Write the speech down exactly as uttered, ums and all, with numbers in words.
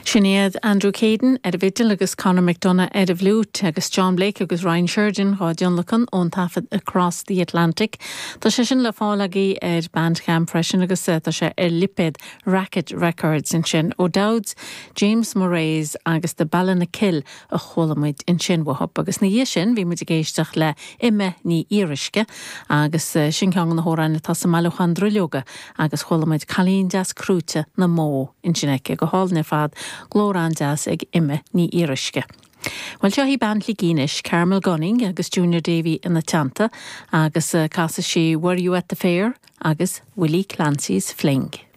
Sin iad Andrew Caden ar an bhfidil agus Conor McDonough ar an bhfliúit agus John Blake agus Ryan Sheridan á dtionlacan ón taifead Across the Atlantic. Tá sé sin le fáil agaibh ar Bandcamp freisin agus eh, tá sé ar lipéad Racket Records ansin O'Dowds, James Moraes agus the Ballinakill a chuala muid ansin uathu agus ina dhiaidh sin bhí muid ag éisteacht le Imma Ní Fhíoruisce agus eh, sin ceann de na hamhráin atá sa mbailiúchán Drilleoga agus chuala muid Cailín Deas Crúite na mbó ansin aici go hálainn ar fad glór an-deas ag Imma Ní Fhíoruisce. Well seo í bean Shligigh anois Carmel Gunning agus Junior Davy ina teannta agus uh, casfaidh sí Were You at the Fair agus Willie Clancy's Fling.